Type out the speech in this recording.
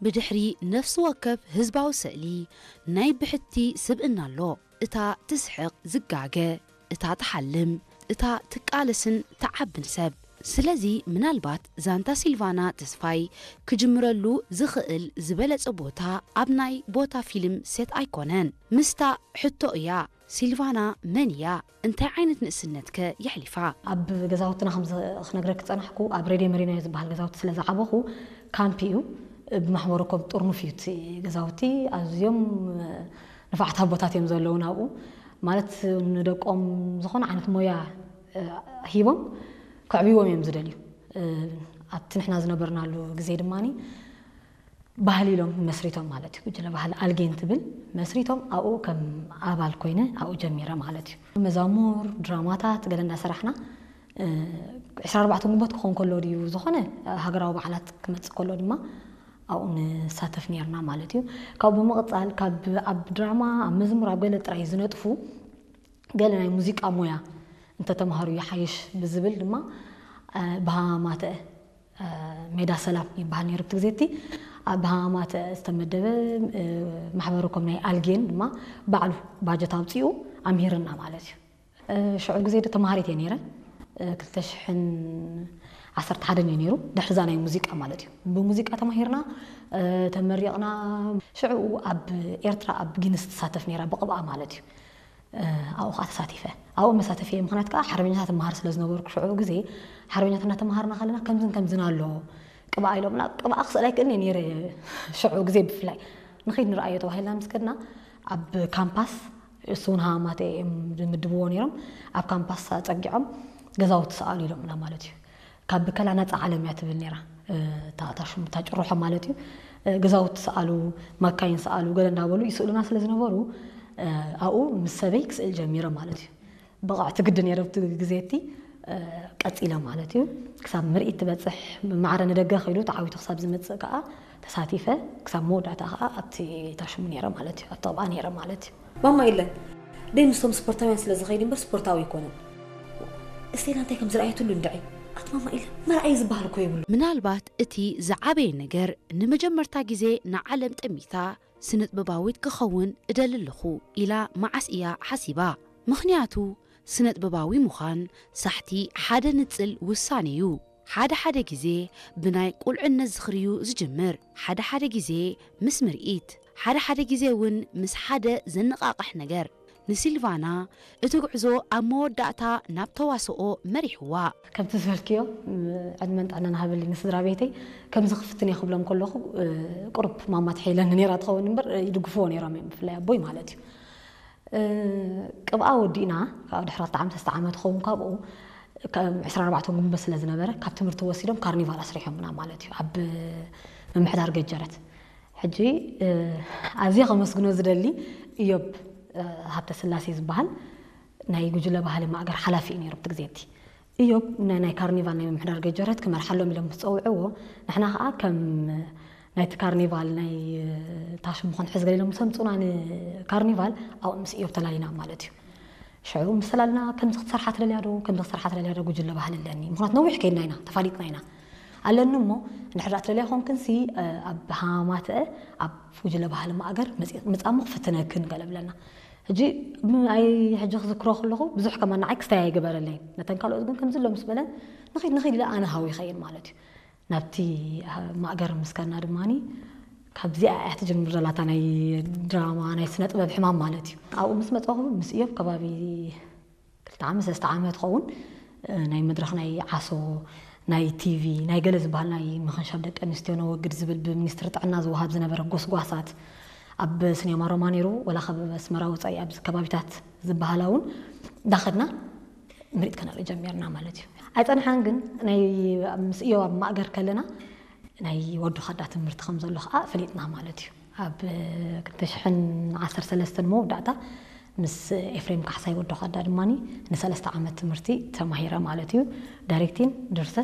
ብድሕሪ ነፍሲ ወከፍ ህዝባዊ ስእሊ ናይ ብሕቲ ስብእና ኣሎ። እታ ትስሕቕ ዝጋገ፣ እታ ትሓልም፣ እታ ትቃለስን ትዓብን ሰብ። ስለዚ ምናልባት ዛንታ ሲልቫና ተስፋይ ክጅምረሉ ዝኽእል ዝበለጸ ቦታ ኣብ ናይ ቦታ ፊልም ሴት ኣይኮነን። ምስታ ሕቶ እያ፣ ሲልቫና መን እያ? እንታይ ዓይነት ንእስነትከ የሕሊፋ? ኣብ ገዛውትና ከም ዝ- ክነግረክ ዝጸናሕኩ ኣብ ሬድዮ መሪኖ ዝበሃል ገዛውቲ ስለ ዝዓበኹ ካምፕ እዩ። ብማሕበረኮም ጥርኑፍ እዩ እቲ ገዛውቲ። ኣዝዮም ንፋዕት ኣቦታት እዮም ዘለዉ ናብኡ። ማለት ንደቆም ዝኾነ ዓይነት ሞያ እ፣ ሂቦም ከዕብይዎም እዮም ዝደልዩ። እ፣ ኣብቲ ንሕና ዝነበርናሉ ግዜ ድማ ባህሊ ኢሎም መስሪቶም ማለት እዩ። ጉጅለ ባህሊ ኣልጌን ትብል መስሪቶም ኣብኡ ከም ኣባል ኮይነ ኣብኡ ጀሚረ ማለት እዩ። መዛሙር፣ ድራማታት ገለ እንዳሰራሕና እ፣ ዕስራን ኣርባዕተን ግንቦት ክኾን ከሎ ድዩ ዝኾነ ሃገራዊ በዓላት ክመጽእ ከሎ ድማ ኣብኡ ንሳተፍ ነርና ማለት እዩ። ካብኡ ብምቕጻል ካብ ኣብ ድራማ ኣብ መዝሙር ኣብ ገለ ጥራይ ዝነጥፉ ገለ ናይ ሙዚቃ ሞያ እንተተምሃሩ ይሓይሽ ብዝብል ድማ እ፣ ብሃማተ እ፣ ሜዳ ሰላም ይበሃል ነይሩ ኣብቲ ግዜ እቲ። ኣብ ብሃማተ ዝተመደበ እ፣ ማሕበረ ኮም ናይ ኣልጌን ድማ ባዕሉ ባጀት ኣውፂኡ ኣምሂርና ማለት እዩ። እ፣ ሽዑ ግዜ ዶ ተምሃሪት እየ ነይረ። እ፣ ክልተ ሽሕን ዓሰርተ ሓደን እዩ ነይሩ። ድሕሪ እዛ ናይ ሙዚቃ ማለት እዩ። ብሙዚቃ ተማሂርና እ፣ ተመሪቕና። ሽዑ ኣብ ኤርትራ ኣብ ጊንስ ትሳተፍ ነይራ ብቕብኣ ማለት እዩ። ኣብኡ ከዓ ተሳቲፈ። ኣብኡ መሳተፊ ምክንያት ከዓ ሓርበኛታት እመሃር ስለ ዝነበርኩ ሽዑ ግዜ ሓርበኛታት እናተምሃርና ከለና ከምዝን ከምዝን ኣሎ ቅብኣ ኢሎምና። ቅብኣ ክስእል ኣይክእልን እየ ነይረ ሽዑ ግዜ ብፍላይ። ንኸይድ ንርኣዮ ተባሂልና ምስ ከድና ኣብ ካምፓስ እሱ እውን ሃማማተ እዮም ዝምድብዎ ነይሮም። ኣብ ካምፓስ ኣፀጊዖም ገዛውቲ ሰኣሉ ኢሎምና ማለት እዩ። ካብ ብከላ ናፃ ዓለም እያ ትብል ነይራ እታ ሽሙ እታ ጭርሖ ማለት እዩ። ገዛውቲ ሰኣሉ፣ ማካይን ሰኣሉ ገለ እንዳበሉ ይስእሉና ስለ ዝነበሩ ኣብኡ ምስ ሰበይ ክስእል ጀሚረ ማለት እዩ። ብቕዕቲ ግዲ ነይረ ኣብቲ ግዜ እቲ ቀፂለ ማለት እዩ። ክሳብ ምርኢት ትበፅሕ ማዕረ ንደገ ከይዱ ተዓዊቱ ክሳብ ዝመፅእ ከዓ ተሳቲፈ ክሳብ መወዳእታ ከዓ ኣብቲ ታሽሙ ነይረ ማለት እዩ። ኣብቲ ቅብኣ ነይረ ማለት እዩ። ማማ ኢለን ደይ ምስቶም ስፖርታውያን ስለ ዝኸይድ እምበር ስፖርታዊ ኣይኮነን። እስቴላ እንታይ ከም ዝረኣየትሉ እንድዒ ኣቲ ማማ ኢለን መርኣይ ዝበሃል እኮ የብሉ። ምናልባት እቲ ዝዓበየ ነገር ንመጀመርታ ግዜ ንዓለም ጠሚታ ስነጥበባዊት ክኸውን እደሊ ኣለኹ ኢላ መዓስ እያ ሓሲባ? ምኽንያቱ ስነጥበባዊ ምዃን ሳሕቲ ሓደ ንጽል ውሳኔ እዩ። ሓደ ሓደ ግዜ ብናይ ቁልዕነት ዝኽሪ እዩ ዝጅምር። ሓደ ሓደ ግዜ ምስ ምርኢት፣ ሓደ ሓደ ግዜ እውን ምስ ሓደ ዘነቓቕሕ ነገር። ንሲልቫና እቲ ጉዕዞ ኣብ መወዳእታ ናብ ተዋስኦ መሪሕዋ። ከምቲ ዝበልክዮ ዕድመን ጥዕናን ሃበሊ ንስድራ ቤተይ። ከምዚ ክፍትን እየ ክብሎም ከለኹ ቁሩብ ማማ ትሕይለኒ ነይራ ትኸውን እምበር ይድግፍዎ ነይሮም እዮም፣ ብፍላይ ኣቦይ ማለት እዩ። ቅብኣ ወዲእና ካብ ድሕሪ ክልተ ዓመት ሰለስተ ዓመት ክኸውን ካብኡ ዕስራን ኣርባዕተን ጉንበት ስለ ዝነበረ ካብ ትምህርቲ ወሲዶም ካርኒቫል ኣስሪሖምና ማለት እዩ፣ ኣብ ምምሕዳር ገጀረት። ሕጂ ኣዝየ ከመስግኖ ዝደሊ እዮብ ሃብተ ስላሴ ዝበሃል ናይ ጉጅለ ባህሊ ማእገር ሓላፊ እዩ ነይሩ ኣብቲ ግዜ እቲ። እዮብ ናይ ካርኒቫል ናይ ምምሕዳር ገጀረት ክመርሓሎም ኢሎም ምስ ጸውዕዎ፣ ንሕና ከኣ ከም ናይቲ ካርኒቫል ናይ ታሽሙ ክንሕዝ ገለ ኢሎም ምስ ኣምጹና ንካርኒቫል ኣብኡ ምስ እዮብ ተላሊና ማለት እዩ። ሽዑ ምስ ተላልና ከምዚ ክትሰርሓ ትደልያ ዶ ከምዚ ክትሰርሓ ትደልያ ዶ ጉጅለ ባህሊ ኣለኒ፣ ምክንያቱ ነዊሕ ከይድና ኢና ተፋሊጥና ኢና። ኣለኒ እሞ እንድሕር ደኣ ትደልያ ኮንክንሲ ኣብ ሃማትአ ኣብ ጉጅለ ባህሊ ማእገር ምጻሞ ክፍትነክን ገለ ብለና። ሕጂ ኣይ ሕጂ ክዝክሮ ከለኹ ብዙሕ ከማን ንዓይ ክስታይ ኣይገበረለይን። ነተን ካልኦት ግን ከምዚ ኣሎ ምስ በለን ንኺድ ንኺድ ኢለ ኣነ ሃው ይኸይን ማለት እዩ። ናብቲ ማእገር ምስ ከድና ድማኒ ካብዚኣ እያ ትጅምር ዘላታ ናይ ድራማ ናይ ስነ ጥበብ ሕማም ማለት እዩ። ኣብኡ ምስ መፀኹ ምስ እዮብ ከባቢ ክልተ ዓመት ሰለስተ ዓመት ኸውን ናይ መድረኽ ናይ ዓሶ ናይ ቲቪ ናይ ገለ ዝበሃል ናይ ምኽንሻብ ደቂ ኣንስትዮ ነወግድ ዝብል ብሚኒስትሪ ጥዕና ዝወሃብ ዝነበረ ጎስጓሳት ኣብ ስኒያማ ሮማ ነይሩ ወላ ካብ ኣስመራ ወፃኢ ኣብዚ ከባቢታት ዝበሃላ እውን እንዳኸድና ምርኢት ከነርኢ ጀሚርና ማለት እዩ። ኣይፀንሓን ግን ናይ ምስ እዮብ ኣብ ማእገር ከለና ናይ ወዶ ካዳ ትምህርቲ ከም ዘሎ ከዓ ፈሊጥና ማለት እዩ። ኣብ ክልተ ሽሕን ዓሰርተ ሰለስተን መወዳእታ ምስ ኤፍሬም ካሕሳይ ወዶ ካዳ ድማ ንሰለስተ ዓመት ትምህርቲ ተማሂረ ማለት እዩ። ዳይሬክቲን ድርሰት